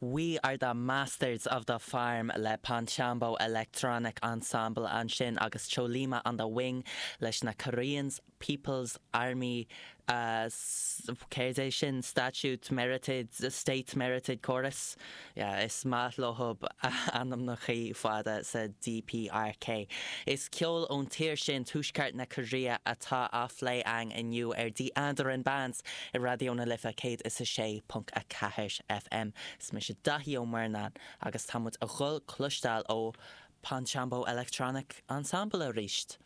We are the masters of the farm le Ponchambo Electronic Ensemble ansin agus Chollima on the Wing leis na Koreans People's Army céard é sin? Statute Merited State Merited Chorus? Yeah, is maith leothub ainmneachaí fada sa DPRK. Is ceol ón tír sin, Tuaisceart na Cóiréa, atá á phlé a'inn inniu ar The Andaran Bands i Raidió na Life 106.4 FM. Is mise Daithí Ó Murnáin agus tá muid a dhul cloisteáil ó Ponchambo Electronic Ensemble aríst.